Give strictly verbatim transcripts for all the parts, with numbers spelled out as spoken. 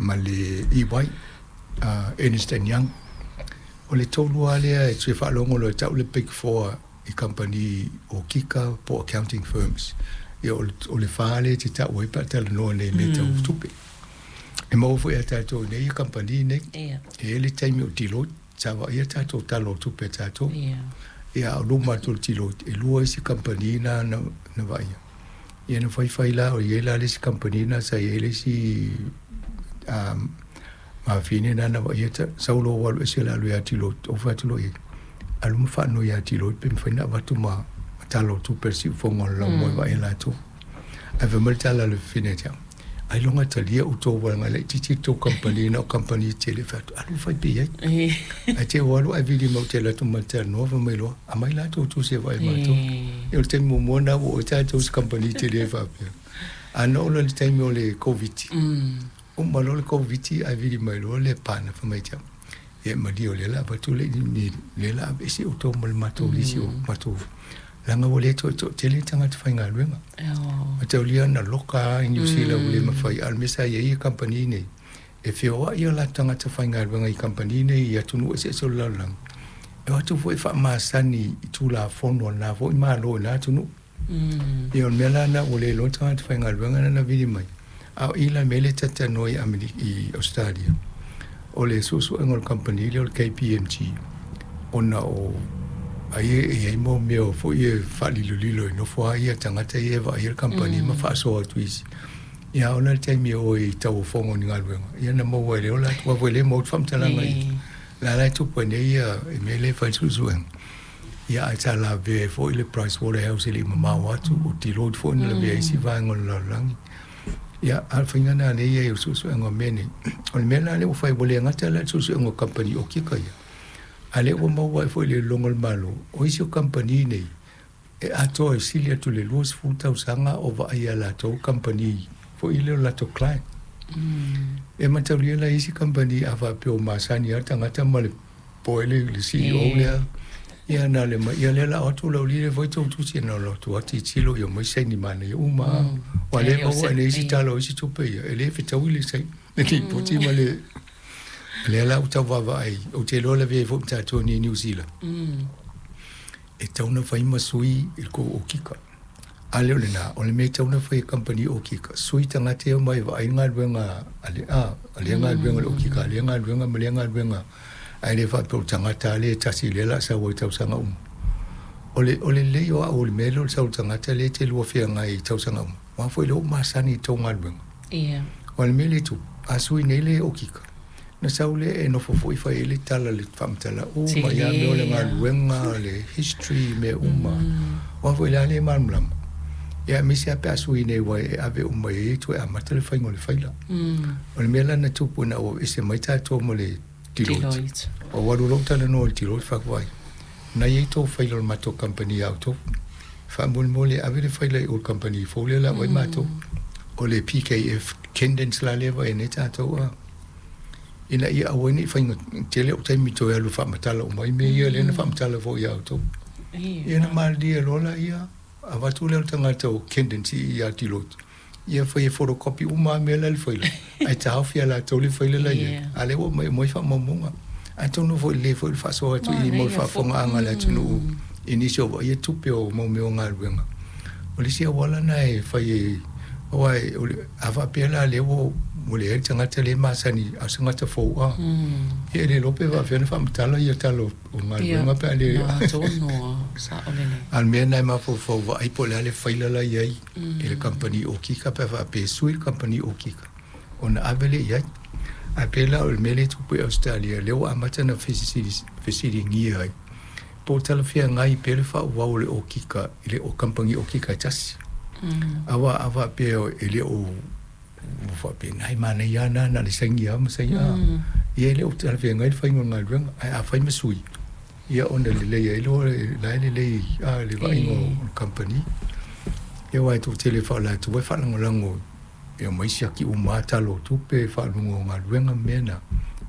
ma le E Y, uh, Ernst and Young. O le tolu lava lea e te faalogo loa e tau le Big Four i kamupani okika po o accounting firms. Ia o le, o le fa lea e te tau ai pe a talanoa nei i mea tau tupe. E maua foi ia tatou i nei ia kamupani nei. Ia. E i ai le taimi o Deloitte, sa vaaia tatou tala o tupe a tatou. Ia. Ia a o luma atu o le Deloitte, e lua isi kamupani na na, na vaaia. Ia na faifai la, o i ai la le isi kamupani na sa i ai le isi um, mafine na na vaaia ta, sau loa ua alu ese le alu ia Deloitte, ou fai atu loa i ai, alu ma faanoi ia Deloitte pe mafai ona avatu ma, ma tala o tupe a le siufofoga o le laumua e vaai e latou. Ae fai mai le tala a le fafine ia te au, ailoga talia outou leaga e laitiiti le tou kamupani na o kamupani tetele. Fai atu, alu fai pea i ai. Ae te i ua alu ae vili mai ou te alu atu ma te talanoa, fai mai loa, aumai la tou tusi e vaai e matou. Ia o le taimi muamua lena ua oo ai tatou i se kamupani tele faapea. Ae na oo loa i le taimi o le Koviti, uma loa le Koviti ae vili mai loa le pana fai mai ia te au, ia malie o lea o le a avatu le lea o le a aveese outou ma le matou lisi o matou leaga ua le toe toatele tagata faigaluega. Mataulia na loka lava i Niu Sila ua le mafai, a o le mea sa i ai kamupani nei, e feoai o latou tagata faigaluega i kamupani nei i atunuu eseese o le lalolagi, e o atu foi e faamasani i Tulafono a lena foi Malo i lena atunuu. Ia o le mea la lena ua le iloa tagata faigaluega na na vili mai, a o i la i le mea lea e talatalanoa i Amerika i Ausetalia, o le suesuega o le kamupani lea o le K P M G, ona o ai e i ai mo mea foi e faalilolilo e nofo lava ia tagata ia e vaaia le kamupani ma faasoa atu i isi. Ia a oo la i le taimi e o ai i tauofoga o ni galuega, ia na maua ai le ola atu aua foi e le maua atu faamatalaga i la la e tupu ai nei ia i mea lea e fai le suesuega. Ia ae sa lavea ai foi le Price Waterhouse e le i mamao atu, o Deloitte foi na lavea ai isi vaega o le lalolagi. Ia, a o le faiga lena lea e i ai o le suesuega o mea nei. O le mea la lea ua fai, ua le gata la i le suesuega o kamupani okika ia, a o lea ua maua ai foi i le iloiloga a le Malo, o isi o kamupani nei, e atoa e sili atu i le luasefulu tausaga o vaai e latou kamupani foi lea o latou client. E mataulia la isi kamupani a faapea o masani lava le tagata ma le po ai le, le C E O lea, ia na le mai, ia lea la o atu lau lile foi tou tusi na o atu atu tilo ia mai saini manaia uma. Ua le maua e isi tala o isi tupe ia, e le fetaui le saini, le lipoti ma le lea la ua tau vaavaai, ou te iloa lavea ai foi ma tatou nei i Niu Sila. E tatau ona fai ma sui i le tou okika. A lea o lena, o le mea e tatau ona fai e kamupani okika, sui tagata ia omai e vaai le galuega a le, a, a lea galuega o le okika, a lea galuega ma lea galuega, ae le faapea o le tagata lea e tasi lea o le a sau ai i tausaga uma. O le, o le lelei o au o le mea lea o le sau o le tagata lea e te lua feagai i tausaga uma, aua foi lea ua masani i tou galuega. Ia. O le mea lea e tupu, a sui nei le okika, na sau lea e nofo foi fai ai le tala le faamatala uma ia mea o le galuega, le history, mea uma. Aua foi la le malamalama. Ia aemaise lava pe a sui nei aua e ave uma i ai toe amata le faiga o le faila. O le mea la na tupu ina ua aveese mai tatou ma le Deloitte. Ua alu loa ou talanoa i le Deloitte fai atu ai, na i ai tou faila o le matou kamupani ia outou. Faamolemole ave le faila i o le kamupani fou lea o le a vaai matou. O le P K F Kendens la lea e vaai nei tatou a. Ina ia aua ai ne i faiga tele o taimi toe alu faamatala uma ai mea ia lea na faamatala foi ia outou. Ia na malilie loa la ia, avatu lea o le tagata o Kendens ia Deloitte. Ia fai e photocopy uma mea la le faila. Ae taofi ia latou le faila la ia. A lea ua mai mai faamaumauga. Atonu foi lelei foi le faasoa atu i mo le faafofogaaga a le atunuu i nisi o vaaia tupe o mau mea o galuega. O le isi auala lena e fai e aua e o le a faapea la lea ua ua leai le tagata lea e masani a o se tagata fou a. Ia e le iloa pe faapefea ona faamatala ia tala o galuega pe a le A o le mea lena e mafaufau vaai po o le a le faila la i ai i le kamupani okika pe a faapea e sui le kamupani okika ona ave lea i ai. Ae pei la o le mea lea e tupu i Ausetalia, lea ua amata ona fesiligia ai po o talafeagai pea le faaauau o le okika i le kamupani okika e tasi. Aua a faapea e le o ua faapena e manaia lava na na o le saini lava ma saini a. Ia e le o talafeagai le faiga o le galuega, ae a fai ma sui, ia ona lelei ai loa la e lelei a le vaaiga o le kamupani. Ia aua e toatele faa-o latou e faalagolago e omai siaki uma lava tala o tupe, faaluga o galuega ma mea na.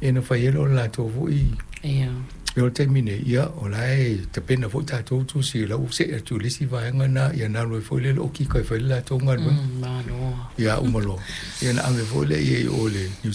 Ia na fai ai loa o le latou foi. Ia. Ia o le taimi nei, ia o la e tapena foi tatou tusi o la ua see atu i le isi vaega lena, ia na alu ai foi lea le okika e fai le latou galuega. Malo. Ia uma loa. Ia na ave foi lea i ai i o i le Niu